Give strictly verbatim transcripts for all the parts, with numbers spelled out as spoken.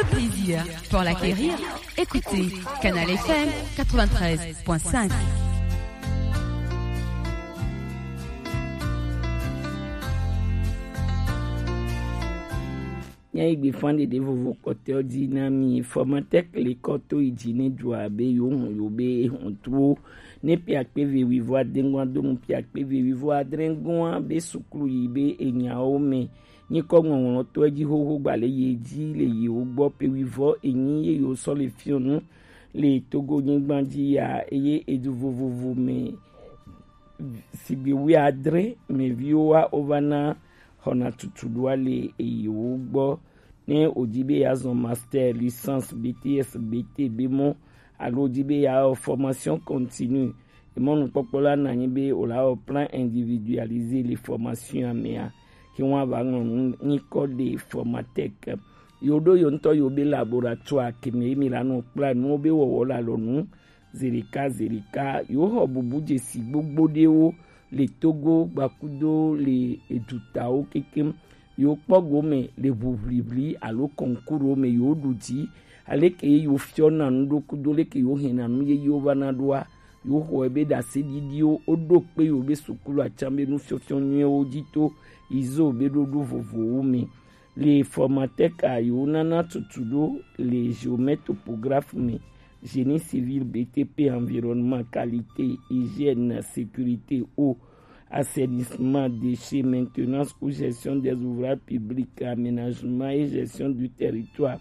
Plaisir pour l'acquérir. Écoutez Canal F M quatre-vingt-treize point cinq. Nya yi gbe fan ɖeɖe vovo kpɔtɔ di na mi. Formatec le kɔ to yi dzi ne dzua be yo hun yo be hun tuwo ne pia kpe ve wi vɔ adengua do mu pia kpe ve wi vɔ adrengua be suklu yi be enyawo me. Nyikɔ ŋɔŋlɔtɔe dzi xoxo gba le ye dzi le yewo gbɔ pe wi vɔ enyi ye yo sɔ le fiɔnu le Togo nyigba dzi ya eye edu vovovo me sigbe wi adre me viwo wa o va na xɔna tutu ɖoa le eyewo gbɔ. Ne o di be ya zɔn master, licence, B T S, B T, be mɔ alo o di be ya wɔ formation continue, emɔnukpɔkpɔ la na anyi be o la wɔ plan individualisé le formation amea ke wọn va ŋlɔ nu nyikɔ de Formatec. Yo ɖo yo ŋutɔ yo be laboratoire ke me mi la nɔ kpla nuwo be wɔwɔ la lɔ nu zerika zerika yo xɔ bubu dzesi gbogbo ɖewo le Togo gbakudo le edutawo kekem. Yo kpɔ gome le ʋuʋliʋli alo kɔnkuro me yo ɖu dzi aleke yo fiɔ na nu ɖo kudo leke yo hɛn na nu yeyewo va na ɖoa. Yo xɔe be ɖaseɖiɖiwo wo ɖo kpe yo be sukulu atsan be nufiɔfiɔ nyuiwo dzi to izo be ɖoɖo vovowo me. Le Formatec a yo nana tutu ɖo le géomètre topographe me, génie civil, B T P, environnement, qualité, hygiène, sécurité, eau, assainissement, déchets, maintenance ou gestion des ouvrages publics, aménagement et gestion du territoire,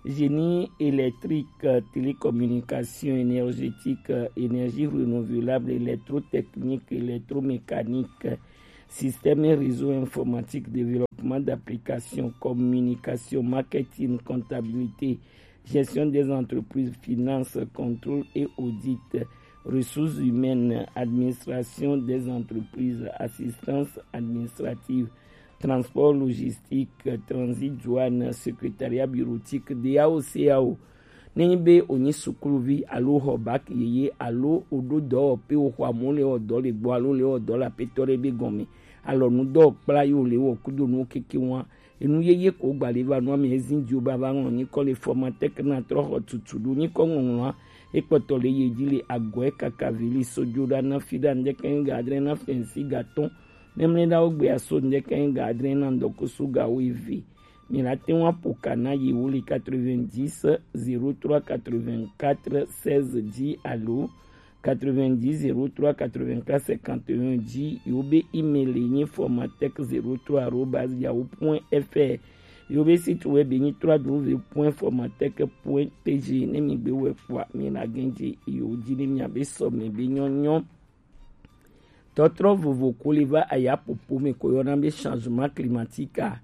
génie électrique, télécommunication, énergétique, énergie renouvelable, électrotechnique, électromécanique, système et réseau informatique, développement d'applications, communication, marketing, comptabilité, gestion des entreprises, finance, contrôle et audit, ressources humaines, administration des entreprises, assistance administrative, transport logistique, transit, douane, secrétariat bureautique, D A O, C A O. Ne nyi be o nyi sukuluvi alo xɔ bac yeye alo o ɖo dɔwɔƒe o xɔ amewo le wɔ dɔ le gbɔ alo le wɔ dɔ le aƒetɔ ɖe be gɔme, alɔnu dɔ kpla yo le wɔ kudo nuwo keke wa. Enu yeye ko gba le va nua me ezin dio ba va ŋlɔ nyikɔ le Formatec na trɔ xɔ tutu ɖo nyikɔ ŋɔŋlɔa. Ekpɔtɔ le ye dzi le agɔe kaka vili sojo ɖa na fi ɖa ŋdɛkɛ ga adre na fɛnsi ga tɔn. Mɛmlɛ ɖa wo gbe aso ŋdɛkɛ ga adre na ŋdɔkoso ga wo eve. Mi la te ŋu aƒo ka na yewo le quatre-vingt-dix zéro trois quatre-vingt-quatre seize dzi alo quatre-vingt-dix zéro trois quatre-vingt-quatre cinquante et un dzi. Yewo be email ye nyi formatec zéro trois arobase yahoo point F R. Yewo be site web ye nyi trois W point formatec point T G. Ne mi gbe wɛ kpɔa, mi na gɛnje yewo dzi ne mia be sɔme be nyɔnyɔ. Tɔtrɔ vovo ko le va aya popo me ko yɔna be changement climatique a.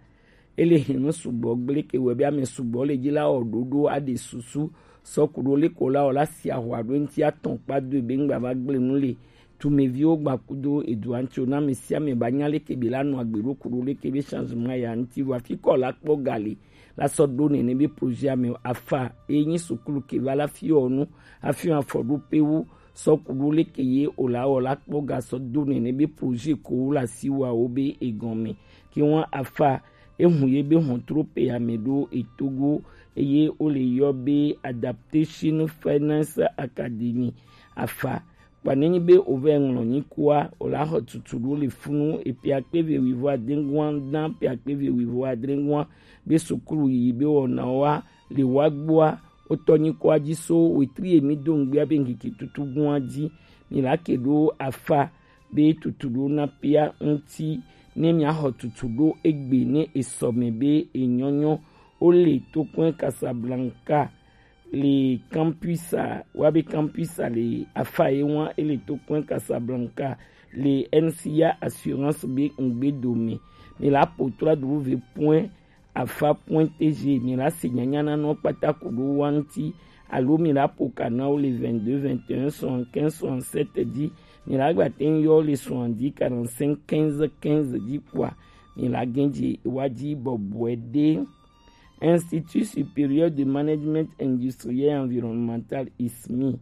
Ele hɛn nu sugbɔ gble ke wɛ be ame sugbɔ le dzi la wɔ ɖoɖo aɖe susu sɔ ku ɖo le ko la wɔ la si ahwa ɖo ŋti atɔn kpa do be ŋgba va gble nu le. Tumeviwo gba kudo edua ŋti o na ame sia ame ba nya le ke be la nɔ agbe ɖo ku ɖo le ke be changement ya ŋti vɔ afi kɔ la kpɔ ga le la sɔ ɖo nene be projet ame afa e nyi sukulu ke va la fiɔ nu afiɔ afɔ ɖo pe wu sɔ ku ɖo leke ye o la wɔ la kpɔ ga sɔ do nene be projet ko wo la si wa wo be egɔme ke wan afa ehun ye be hɔn tro pe ame ɖo etogo eye wo le yɔ be Adaptation Finance Academy afa. Kpa nenyi be o vɛ ŋlɔ nyi kua o la xɔ tutu ɖo le funu epe akpe ve wi vɔ adengua dan pe akpe ve wi vɔ adengua be sukulu yi be wɔna wa le wa gbɔa. Wotɔ nyi kɔ adzi so wetri emi do ŋgbia be ŋkeke tutu gun adzi. Mi la ke ɖo afa be tutu ɖo na pia ŋti ne mia xɔ tutu ɖo egbe ne esɔme be enyɔnyɔ. Wole tokpɔn Casablanca le campus a wa be campus a le afa ye wa ele tokpɔn Casablanca le N C A assurance be ŋgbe dome. Mi la po trois W point afa point T G. Mi la se nyanya na nɔ kpata ku ɖo wa ŋti alo mi la po ka na wo le vingt-deux vingt et un soixante-quinze soixante-sept dzi. Mi la gba te ŋ yɔ le soixante-dix quarante-cinq quinze quinze dzi kpɔa mi la gɛnje wa dzi bɔbɔe ɖe. Institut Supérieur de Management Industriel et Environnemental, I S M I.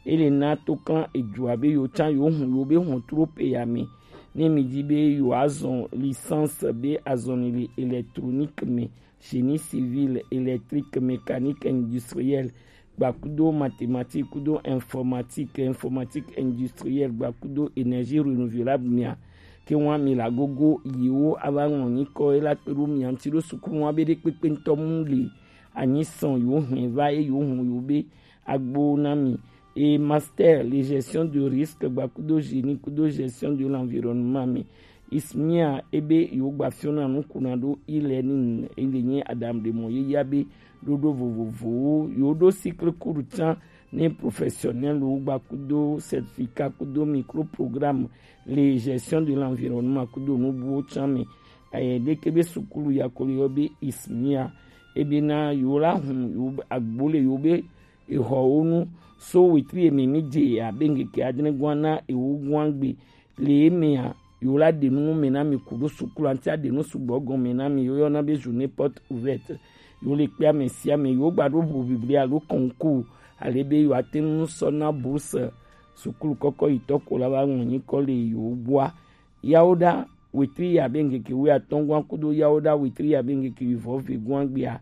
Ele na to kan edua be yo can yo hun yo be hɔn tro pe ya me. Ne mi di be yo azɔn licence be azɔnli le électronique me, génie civil, électrique, mécanique industrielle, gba kudo mathématique kudo informatique, informatique industrielle, gba kudo énergie renouvelable mia, ke wan mi la gogo yiwo ava ŋlɔ nyikɔ e la kpe ɖo mia ŋuti ɖo sukulu wan be ɖe kpekpe ŋutɔ mu le anyi sɔn yo hɛn va e yo hɔn yo be agbo na mi. Et master le gestion de risque gba kudo génie kudo gestion de l'environnement me. Ismia ebe yo gba fiona nu kuna ɖo e-learning e le nyi adam de mo ye ya be ɖoɖo vovovowo yo ɖo cycle court can ne professionnel wo gba kudo certificat kudo micro programme le gestion de l'environnement kudo nubuwo can me. Aye ɖeke be sukulu ya ko le yɔ be Ismia ebe na yo la hun yo agbo le yo be exɔwo nu so wetri ene mi dze abe ŋkeke adre gɔa na ewo gɔa gbe. Le emea yo la ɖe nu me na mi ku ɖo sukulu anti aɖe nu sugbɔ gɔme na mi yo yɔna be journée porte ouverte. Yo le kpe ame sia ame yo gba ɖo ʋu biblia alo concours ale be yo ate ŋu sɔ na bourse sukulu kɔkɔ yi tɔ ko la va ŋlɔ nyikɔ le yo gbɔa. Yawo ɖa wetri ya be ŋkeke wi atɔngɔa kudo yawo ɖa wetri ya be ŋkeke wi vɔ ve gɔa gbea.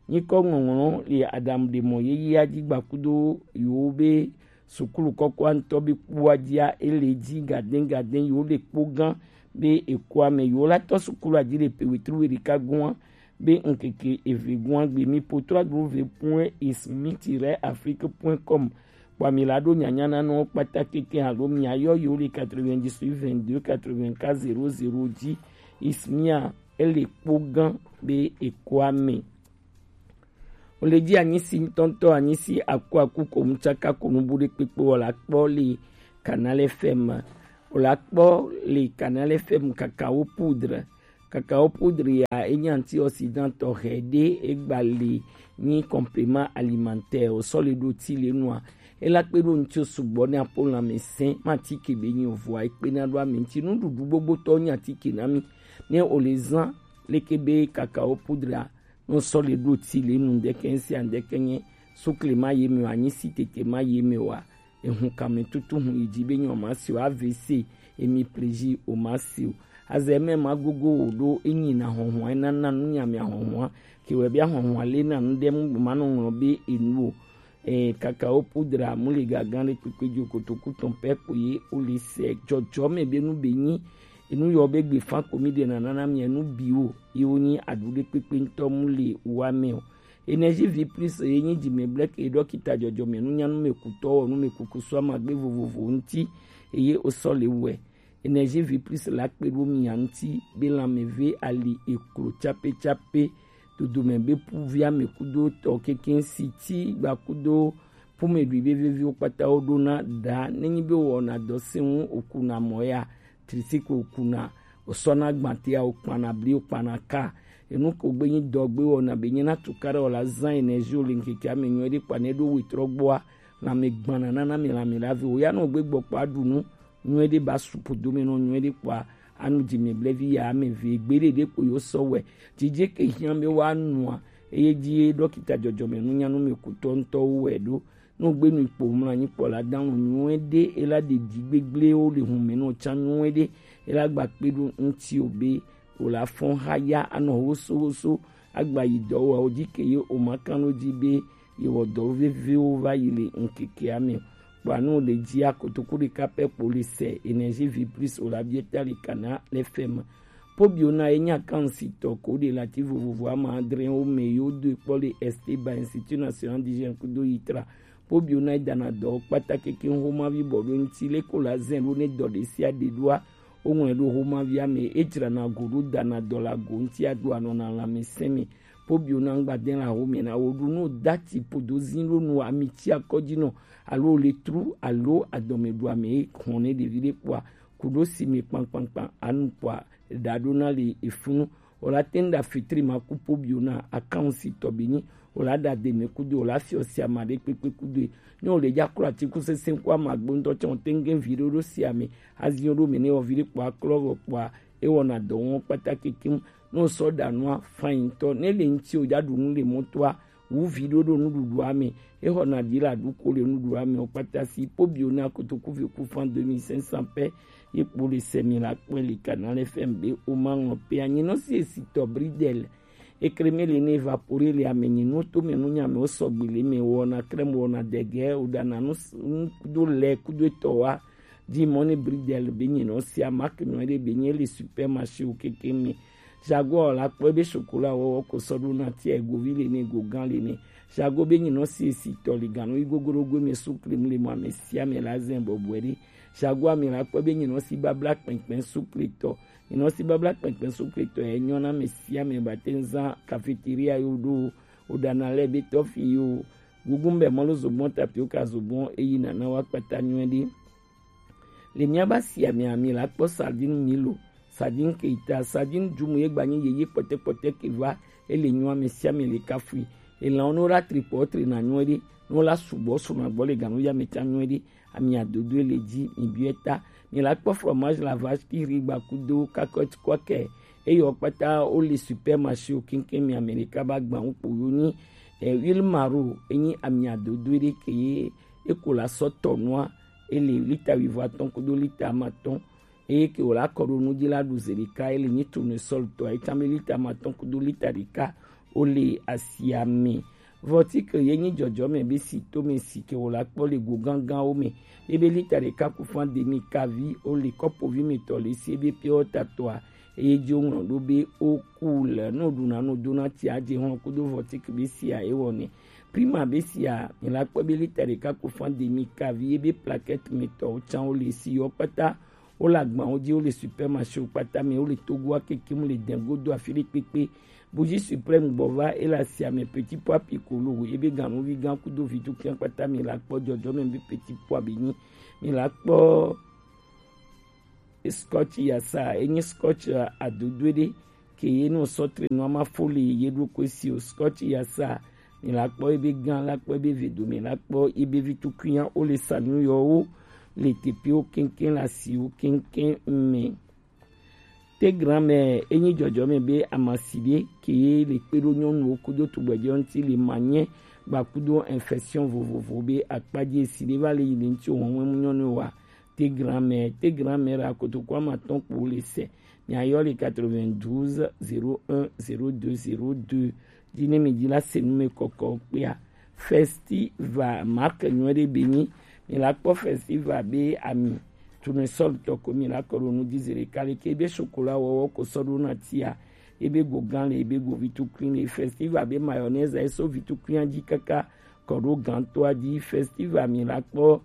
Nyikɔ ŋɔŋlɔ le adam ɖe mɔ yeyea dzi gba kudo yo be sukulu kɔkɔa ŋutɔ be kpua dzia ele dzi gaden gaden yo le kpo gã be ekoa me yo la tɔ sukulu adzi le pe wetri we ɖeka gɔa be ŋkeke eve gɔa gbe mi po trois w point ismiti rɛ afrique point com. Kpɔ mi la ɖo nyanya na nɔ kpata keke alo mia yɔ yo le quatre-vingt-dix-huit vingt-deux quatre-vingt-quatre zéro zéro dzi. Ismia ele kpo gã be ekoa me. O le dzi anyisi ŋutɔŋutɔ anyisi aku aku ko ŋutsaka ko nubu ɖe kpekpe wɔ la kpɔ le Canal F M. O la kpɔ le Canal F M kakao poudre. Kakao poudre ya enye antioxydant tɔxɛ ɖe egba le nyi complément alimentaire o sɔ le ɖo ti le nua. Ela kpe ɖo ŋuti sugbɔ ne apo lãmesẽ ma atike be nyi o vɔa ekpe na ɖo ame ŋuti nuɖuɖu gbogbotɔ nyi atike na mi. Ne o le zã leke be kakao poudre a no sɔ le ɖo ti le nu ŋdɛkɛ ŋsi a ŋdɛkɛ nye sukle ma ye me o anyi si tete ma ye me o a. Ehun kame tutu hun yi dzi be nyɔ ma si o avc emi plezi o ma si o. Azɛ mɛ ma gogo o ɖo enyi na hɔhɔa ena na nu nya mi ahɔhɔa ke wɛ bi ahɔhɔa le na nu ɖe mu ma nɔ ŋlɔ be enu o. Eh, kakao poudre mu le gagan ɖe kpekpe dzo kotoku tɔn pɛ ko ye o le sɛ dzɔdzɔ mɛ be nu be nyi enu yɔ be gbe fan ko mi ɖe na nana mi enu bi o ye wo nyi aɖu ɖe kpekpe ŋutɔ mu le wa mɛ o. Energie vie plus ye nyi dzime blɛk ye ɖɔkita dzɔdzɔme nunyanu me kutɔ wɔ nu me kuku sɔ amagbe vovovo ŋuti eye o sɔ le wɛ. Energie vie plus la kpe ɖo mia ŋuti be lãmeve ali eklo tsape tsape dodome be puvia me kudo tɔ keke siti gba kudo pume ɖui be veviwo kpata wo ɖona ɖa nenyi be wɔna dɔ seŋu okuna mɔ ya trisiko okuna osɔna gbatea okpana bli okpana ka enu ko gbe nyi dɔ gbe wɔna be nyi na tukaɖe wɔ la zã energie o le ŋkeke ame nyuie ɖe kpa ne ɖo wetrɔ gbɔa lãme gbana nana mi lãme la ve o ya nɔ gbe gbɔ kpa ɖu nu nyuie ɖe ba supu dome nɔ nyuie ɖe kpɔa anu dzi me blevi ya ame ve gbe ɖe ɖe ko yo sɔ wɛ dzidze ke hiã be wa nua eye dzi ɖɔkita dzɔdzɔme nunyanu me kutɔ ŋutɔwo wɛ ɖo. No gbe nu kpo mla nyi kpɔ la dan nyuie ɖe ela ɖe dzi gbegble wo le hun me nɔ tsa nyuie ɖe ela gba kpe ɖo ŋuti o be o la fɔn ha ya anɔ hoso hoso agba yi dɔ wa o dzi ke ye o ma kan ɖo dzi be yewɔ dɔ veviwo va yi le ŋkekea me. Kpɔa nu le dzia kotoku ɖeka pɛ kpo le sɛ energie vie plus o la bieta le kana le fɛm. Pobiona ye nya kan si tɔ ko de lati vovovo ama adre wo me yo do kpɔ le esteba institut national d'hygiène kudo yitra. Pobiona ye dana dɔ kpata keke homa vi bɔ do nti le ko la zen do ne dɔ de sia de doa o ŋlɛ do homa via me e dzra na go do dana dɔ la go nti a do anɔ na la me sɛn me. Pobiona ŋgba de la ho me na wo do no dati podo zin do no ami ti akɔdzi nɔ alo le tru alo adɔme do ame hɔn ne ɖevi ɖe kpɔa kuɖo si me kpankpankpan anu kpɔa ɖa ɖo na le efunu. O la teŋ ɖa fitri ma ku pobiona akan si tɔ be nyi o la ɖa de me kudo o la fiɔ si ama ɖe kpekpe kudo e. Ne o le dza klo atikusese ku ama gbo ŋutɔ tsɛ o teŋ ge vi ɖo ɖo si ame azi ɖo me ne wɔ vi ɖe kpɔa klɔ vɔ kpɔa e wɔna dɔ wɔn kpata kekem. Ne o sɔ ɖa nua fain tɔ ne le ŋuti o dza ɖu nu le mɔtoa wu vi ɖo ɖo nuɖuɖua me. Exɔna ɖi la ɖu ko le nuɖuɖua me o kpata si pobiona kotoku ve ku fan deux mille cinq cents pɛ Ye kpo le sɛ mi la kpɔe le Canal F M be o ma ŋlɔ pe anyi nɔ si esi tɔ bridel. Ekreme le ne évapore le ame nyi nu to me nu nya me o sɔgbe le me wɔna krem wɔna dege o dana nu s- nu kudo lɛ kudo etɔ wa. Di mɔ ne bridel be nyi nɔ si amak nyɔ de be nyi le supermarché o keke me. Jaguar la kpɔe be chocolat wɔwɔ ko sɔ ɖo na tia egovi le ne egogan le ne. Jago be nyi nɔ si esi tɔ le ganu yi gogoro go me su krim le mɔ ame sia me la zɛn bɔbɔe ɖe. Jago ame la kpɔe be nyi nɔ si babla kpɛnkpɛn su kletɔ. Nyi nɔ si babla kpɛnkpɛn su kletɔ yɛ nyɔ na ame sia me ba te zan cafeteria yo ɖo o ɖana lɛ be tɔfi yo. Gugun bɛ mɔlu zogbɔn tapioca zogbɔn eyi nana wa kpata nyɔe ɖe. Le mía ba si ame ami la kpɔ sardine milo, sardine keita, sardine jumu ye gba nyi yeye kpɔtɛkpɔtɛ ke va ele nyɔ ame sia ame le kafui. Elan wo no la tripɔ tre na nyɔe ɖe, no la subɔ suna gbɔ le ganu ya me tsa nyɔe ɖe. Ami adodo le dzi mi biɛ ta. Mi la kpɔ fromage la vache qui rit gba kudo kakɔt kɔkɛ. Eyɔ kpata o le supermarché o kinkin mi Amerika ba gba wo kpo yo nyi. E huile maro enyi ami adodo ɖe ke ye eko la sɔ tɔ nua ele lita wivɔ atɔn kudo lita amatɔn. Eye ke wòle akɔ ɖo nu dzi la ɖu zi ɖeka, ele nyi tournesol tɔ, etsa be lita amatɔn kudo lita ɖeka wole asia me. Vɔtike ye nyi dzɔdzɔme be si to me si ke wòle akpɔ le go gãgãwo me. Ye be lita ɖeka ku fan demi kavi wole kɔpovi me tɔ le si ebe pure water tɔa, eye dzi woŋlɔ ɖo be o cool, ne woɖuna nu dona tsia dze hɔn kudo vɔtike be sia ewɔ ne. Prima be sia, mi la kpɔ be lita ɖeka ku fan demi kavi ye be plaquette me tɔwo tsa wole si yɔ kpata. Wole agbawo dzi, wole supermarché wo kpata me, wole Togoa kekem, le dɛn godo afi ɖe kpekpe. Bougie suprême gbɔ va ele asia me petit pois piccolo, ebe ganuvi gã kudo vitukɛ kpata mi la kpɔ dzɔdzɔme be petit pois be nyi. Mi la kpɔ scotch yasa, enyi scotch adodo ɖe ke ye no sɔ tre no ama fo le ye ɖo ko si o scotch yasa. Mi la kpɔ ebe gã la kpɔ ebe vedo mi la kpɔ ebe vitukunya o le sa nu yɔ wo le teƒewo keŋkeŋ le asiwo keŋkeŋ me. Te grand-mère enyi dzɔdzɔme be amasi ɖe ke ye le kpe ɖo nyɔnuwo kudo tugbɛjɛ ŋuti le manyɛ gba kudo infection vovovo be akpadzi esi ɖe va le yi le ŋuti o hɔn mu nyɔnu wa. Te grand-mère, te grand-mère akotoku amatɔn kpo le se. Mia yɔ le quatre-vingt-douze zéro un zéro deux zéro deux. Dzi ne mi dzi la se nu me kɔkɔ kpea. Festival marque nyuie ɖe be nyi. Mi la kpɔ festival be ami. Tournesol tɔ ko mi la kɔ ɖo nu dzi zi ɖeka le ke be chocolat wɔwɔ ko sɔ ɖo na tia. Ebe go gã le, ebe go vitukui le. Festival be mayonnaise eso vitukui dzi kaka kɔ ɖo gãtɔa dzi. Festival mi la kpɔ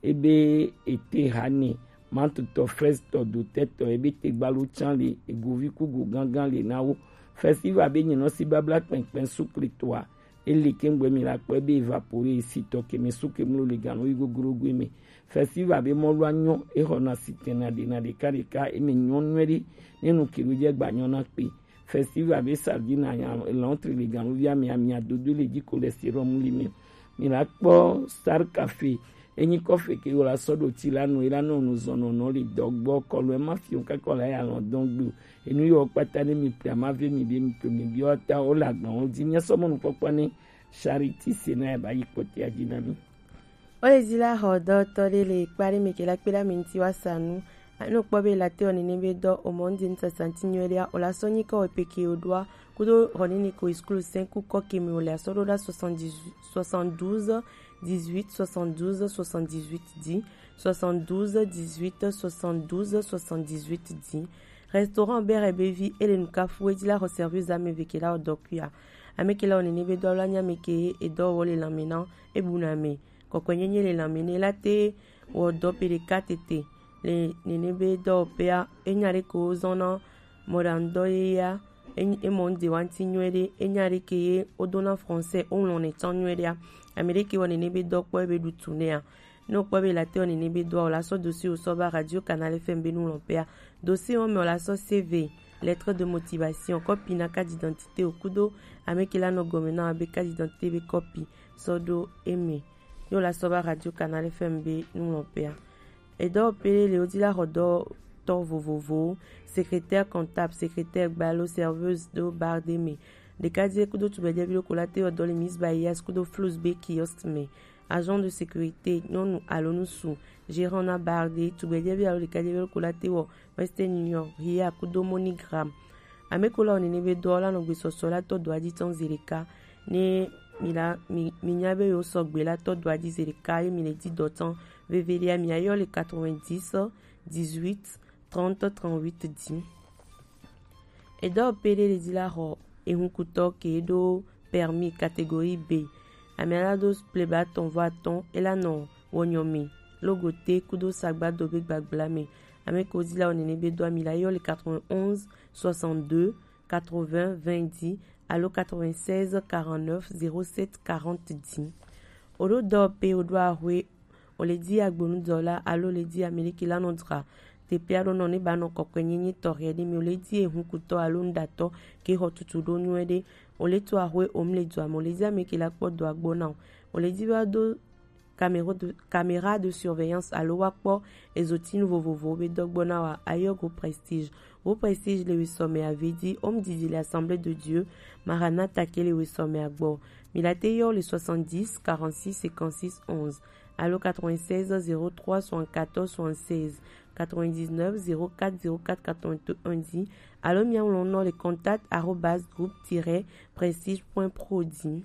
ebe ete hane, mantutɔ, frɛztɔ, dotɛtɔ, ebe tegbalo tsã le, egovi ku go gãgã le na wo. Festival be nyinɔ si babla kpɛnkpɛn sukle toa, ele kengbe mi la kpɔ ebe evapore sitɔ keme suke mlo le gano yi gogoro goe me. Festival be mɔlu anyɔ, exɔna sitɛna ɖena ɖeka ɖeka, eme nyɔ nyuie ɖe, ne nu kilo dze gba nyɔ na kpe. Festival be sardine anya elɔntri le ganuvi ame amia dodo le dzi cholestérol mu li me. Mi la kpɔ Star Café. Enyi kɔfe ke wo la sɔ ɖo ti la nu, ela nɔ nu zɔn nɔnɔ le dɔ gbɔ kɔlu ema fi o kakɔ la ya lɔn dɔn gbe. Enu yɔ kpata ne mi pia ma ve mi be mi to mi bi ɔta o la gbɔn o dzi mi sɔ mɔnu kpɔkpɔ ne Charity se na ya ba yi kpɔtia dzi na mi. Ole dzi la xɔ dɔtɔ ɖe le kpa ɖe me ke la kpe ɖe ame ŋuti wa sa nu. Ne wokpɔ be la te wɔ nene be dɔ o mɔ ŋdi ŋutsa santi nyuie ɖea, o la sɔ nyi kɔ wɔ peke o ɖoa kudo xɔ nene ko iskulu sɛn ku kɔ ke me o le asɔ ɖo ɖa soixante-dix, soixante-douze, dix-huit, soixante-douze, soixante-dix-huit dzi, soixante-douze, dix-huit, soixante-douze, soixante-dix-huit dzi. Restaurant Bere Bevi ele nukafu edzi la xɔ service ame ve ke la wɔ dɔ kuia. Ame ke la wɔ nene be dɔ la nya me ke edɔ wɔ le lame na ebu na me. Kɔkɔenyenye le lanme nɛ la te wɔ dɔ pe ɖeka tete le nene be dɔwɔƒea. Enya ɖe ko wozɔna mɔɖaŋudɔ yeyea, enyi emɔ ŋdewa ŋuti nyuie ɖe. Enya ɖe ke ye wodona français woŋlɔnɛ tsã nyuie ɖea. Ame ɖe ke wɔ nene be dɔ kpɔ ebe ɖu tu nɛa. Ne wokpɔ be la te wɔ nene be dɔa o la sɔ dossier wosɔ va Radio Canal F M be nuŋlɔƒea. Dossier wɔme o la sɔ C V, lettre de motivation, kɔpi na carte d'identité o kudo ame ke la nɔ gɔme na be carte d'identité be kɔpi sɔ ɖo eme. Yo la sɔ va Radio Canal F M be nuŋlɔƒea. Edɔwɔƒe le wodzi la xɔ dɔtɔ vovovowo, secrétaire comptable, secrétaire gbalo, serveuse ɖo bar ɖe me. Ɖekadze kudo tugbedzɛvi ɖo ko la te wɔ dɔ le Miss Bayas kudo Flus be kiosk me. agent de sécurité nyɔnu alo ŋutsu, gérant na bar ɖe, tugbedzɛvi alo ɖekadzevi lɔ ko la te wɔ Western Union, Ria kudo MoneyGram. Ame ko la wɔ nene be dɔ la nɔ gbesɔsɔ la tɔ dɔa dzi tɔn zi ɖeka. Ne mi la mi mi nya be yewo sɔgbe la tɔ dɔa dzi zi ɖeka ye mi le di dɔ tɔn veviɖea, mi ayɔ le quatre-vingt-dix, dix-huit, trente, trente-huit dzi. Edɔ pe ɖe le dzi la xɔ ehunkutɔ ke ɖo permis catégorie B. Ame la do pleba tɔn vɔ atɔn ela nɔ wɔnyɔ me logote kudo sagbado be gbagbla me. Ame ko dzi la wɔ nene be do ami la yɔ le quatre-vingt-onze, soixante-deux, quatre-vingts, vingt dix alo quatre-vingt-seize, quarante-neuf, zéro sept, quarante dix. O ɖo dɔ pe o ɖo ahwe, o le di agbonudɔla alo o le di ame ɖe ke la nɔ dra teƒe aɖo nɔ ne ba nɔ kɔkɔe nyenye tɔxɛ ɖe mi, o le di ehunkutɔ alo nuɖatɔ ke xɔ tutu ɖo nyuie ɖe, o le to ahwe o mu le dua me, o le di ame ke la kpɔ dɔa gbɔ na o, o le di va do caméra de, caméra de surveillance alo wa kpɔ ezotinu vovovowo be dɔ gbɔ na wa, ayɔ Go Prestige. Go Prestige le wisɔ me avedi, home didi le Assemblée de Dieu, Maranatha ke le wisɔ me agbɔ. Mi la te yɔ le soixante-dix, quarante-six, cinquante-six, onze alo quatre-vingt-seize, zéro trois, soixante-quatorze, soixante-seize, quatre-vingt-dix-neuf, zéro quatre, zéro quatre, quatre-vingt-un dzi alo mia ŋlɔ nɔ le contact arobase groupe tiret prestige point pro dzi.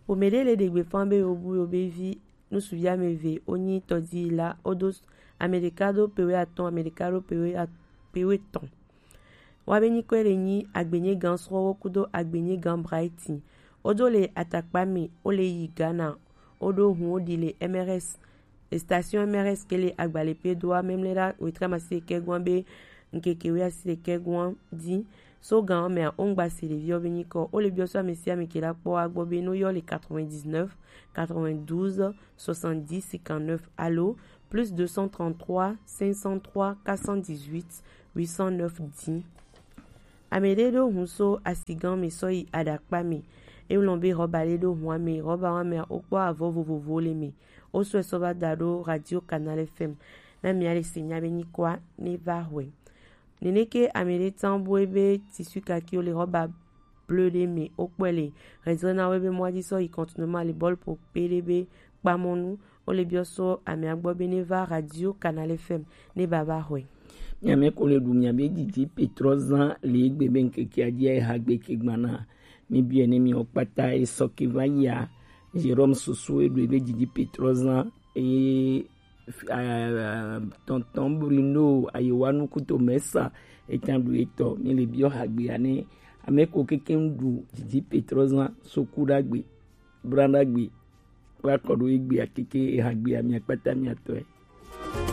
Ƒome ɖe le ɖe gbeƒã be yewo bu yewo be vi ŋutsuvi ame eve wonyi tɔdzi la, wodo s-, ame ɖeka ɖo pewe atɔ̃, ame ɖeka ɖo pewe at-, pewe etɔ̃. Woabe nyikɔe le nyi Agbenyegan Srɔ̃wo kudo Agbenyegan Brighton. Wodo le atakpa me, wole yi Ghana. Woɖo hu woɖi le M R S, le station M R S ke le Agbalepe doa memle ɖa wetre amasi ɖekɛ gɔn be ŋkeke we asi ɖekɛ gɔn dzi. So gan mea, wongba se ɖeviwo be nyikɔ. Wole biɔ so ame sia ame ke la kpɔ agbɔ be no yɔ le quatre-vingt-dix-neuf, quatre-vingt-douze, soixante-dix, cinquante-neuf alo plus deux cent trente-trois, cinq cent trois, quatre cent dix-huit, huit cent neuf dix. Ame ɖe ɖo hu so asigan me sɔ yi aɖakpa me. Eŋlɔ be rɔba ɖe ɖo hua me. Rɔba wa mea, wokpɔ avɔ vovovowo le me. Wosɔe sɔ va da ɖo Radio Canal F M. Na mia le se nya be nyikɔa ne va hɔe. Neneke ame ɖe tsan bue be tissu kakiwo le rɔba bleu ɖe me, wokpɔe le Rezena we be mɔa dzi sɔ yi contournement le bɔl po pe ɖe be kpamɔnu. Wole biɔ so amea gbɔ be ne va Radio Canal F M ne baba hɔe. Miame ko le ɖu miabe didi Petrɔ zã le egbe be ŋkekea dzi eha gbe ke gbana. Mi biɛ ne mi kpata esɔ ke va yia. Jérôme Soso eɖu ebe didi Petrɔ zã eye, ah, tonton Bruno Ayewanu kuto mesa etan ɖu etɔ. Mi le biɔ hagbea ne ame ko keke ŋɖu didi Petrɔ zã so ku ɖagbe, bra ɖagbe, kpla kɔ ɖo egbea keke ehagbea mia kpata mia tɔe.